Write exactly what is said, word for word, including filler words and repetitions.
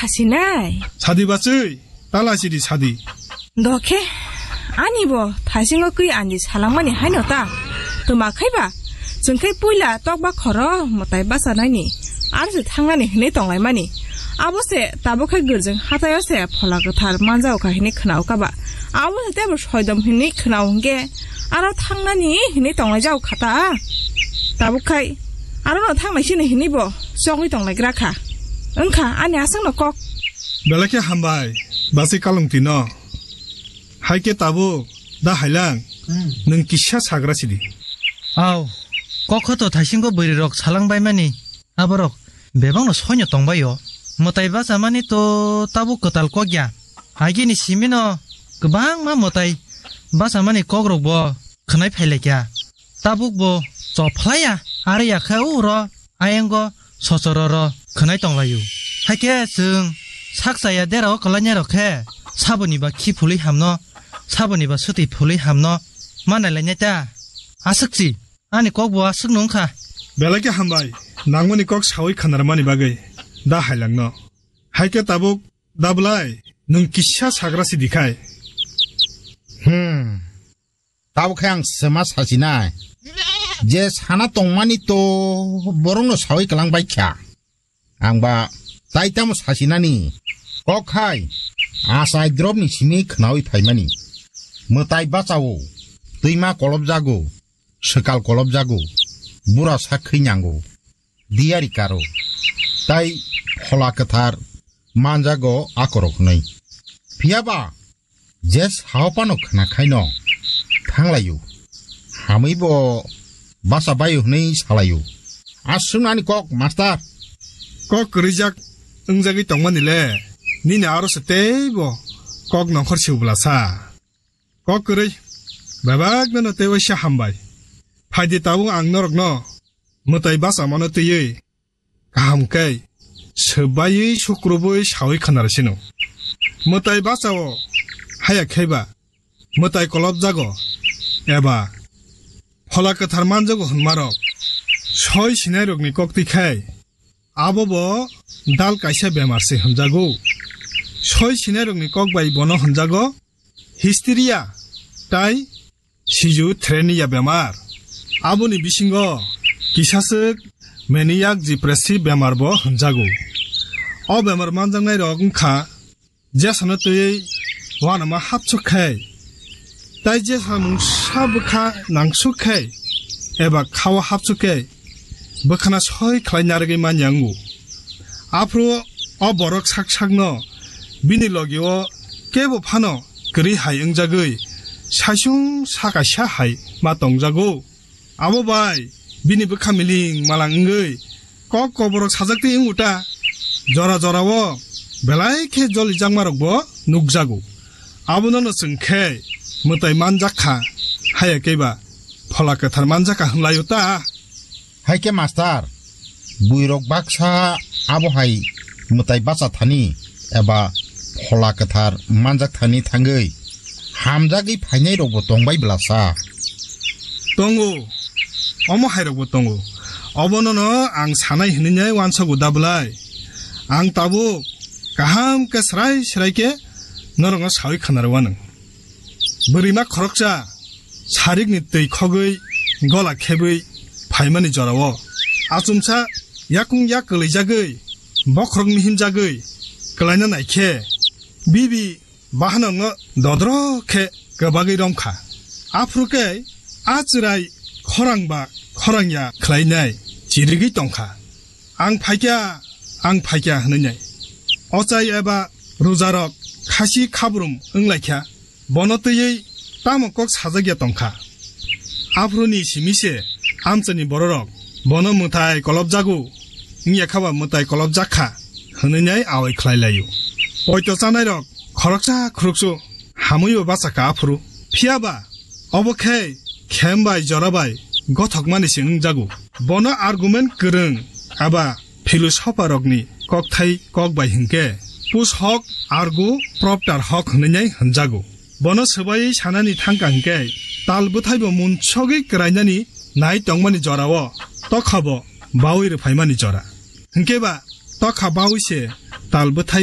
Asinai. Sadi bachwi, tala sidi sadi. Dokhe, ani bo thaisingo kwi ani salangmani haino ta. Tuma khaiba, chwng khai puila tokba khoro mwtai bachanaini, aro se thangnani hinwi tonglaimani. Abo se tabuk khai gwrjwng hataio se phola kwthar manjao kha hinwi khwnao kaba. Abo se tebo soidom hinwi khwnao hwnkhe, aro thangnani hinwi tonglaijao kha ta. Tabuk khai, aro no thangnai sini hinwi bo chogwi tonglaigra kha. Wngkha ani aswkno kok. Belai khe hambai, bachwi kalungtino. Hai khe tabuk, da Hailang, Hmm. nwng kisa sagra sidi. Au, kok kho to thaisingo bwrwirok salang baimani, aborok bebakno soino tongbaio. Mwtai bachamani to tabuk kwtal kok ya. Agini simino kwbangma mwtai bachamani kokrokbo khwnai phailaikha. Tabukbo chophlaiya, aro ya khe uro ayango sochororo khwnai tonglaio. Haikhe chwng sak chaya derao kwlainairok khe saboni ba khi phulwi hamno, saboni ba swtwi phulwi hamno ma nailainai ta. Aswkchi, ani kokbo aswkno wngkha. Belai khe hambai, nangmani kok sawi khanarmani bagwi, da Hailangno. Haikhe tabuk, da bwlai, nwng kisa sagra sidi khai. Hmm. Tabuk khe ang swma sachinai. Je sana tongmani to borokno sawi kwlang bai kha. Ang ba tai tamo sachinani. Kok khai achai dropni simi khnawi phaimani. Mwtai bachao, twima kolobjago, swkal kolobjago, bura sak khwi nyango, diyari karo, tai phola kwthar manjago akorok hwnwi. Phiyaba je sao phano khna khaino thanglaio, hamwi bo bacha baio hwnwi salaio. Aswknani kok, master. Kok kwrwijak wngjagwi tongmani le, nini aro se teibo kok nongkhor siu bwlasa. Kok kwrwi, bebakno no tei waisa hambai. Phaidi tabuk ang norokno mwtai bachamano twiwi kaham khe swbaiwi sukrubwi sawi khwnarasino. Mwtai bachao haya kheba mwtai kolobjago eba phola kwthar manjago hwnmarok soi sinairokni koktwi khai abo bo dal kaisa bemar se hwnjago. Soi sinairokni kok bai bono hwnjago hysteria tai schizophrenia bemar. Aboni bisingo kisaswk maniac depressive bemar bo hwnjago. O bemar manjaknairok wngkha jesano twiwi uanama hapsuk khai, tai jesa mungsa bwkha nangsuk khai eba khao hapsuk khe bwkhana soi khlai narwgwi manya wngo. Aphuru o borok sak sakno bini logio kebo phano kwrwi hai wngjagwi saisung sakaisa hai ma tongjago. Abo bai bini bwkha miling malang wngwi kok koborok sajak twi wngo ta. Jora jorao belai khe jolijakmarokbo nukjago. Abono no chwng khe mwtai manjak kha, haya khe ba phola kwthar manjak kha hwnlaio ta. Hai khe master, buirok baksa abo hai mwtai bacha thani eba phola kwthar manjak thani thangwi hamjagwi phainairokbo tongbai bwlasa? Tongo, omo hairokbo tongo. Obono no ang sanai hinwi nai uansago da bwlai? Ang tabuk kaham khe srai srai khe norokno sawi khwnarwi anw. Bwrwima khoroksa sarikni twi khogwi gola khebwi phaimani jorao achumsa yakung yak kwlwijagwi bokhorok mihimjagwi kwlaina naikhe bibi bahanokno dodrok khe kwbagwi romkha. Aphuru khe a chwrai khorang ba khorang ya khlainai chirigwi tongkha. Ang phaikha, ang phaikha hwnwi nai. Ochai eba rujarok khasi khabrum wnglaikha, bono twiwi tamo kok sajak ya tongkha. Aphuruni simi se amchaini bororok bono mwtai kolobjago, wngya kha ba mwtai kolobjak kha hwnwi nai awai khlai laio. Poito chanairok khoroksa khoroksa hamwi bo bacha kha aphuru. Phiya ba obo khe khem bai jora bai gothokmani se wngjago. Bono argument kwrwng aba philosopher rokni kokthai kok bai hinkhe, pus hok argu propter hok hwnwi nai hwnjago. Bono swbaiwi sanani thangkha hinkhe, tal bwthaibo munsogwi kwrainani nai tongmani jorao tokha bo baui rwphaimani jora. Hinkhe ba tokha baui se tal bwthai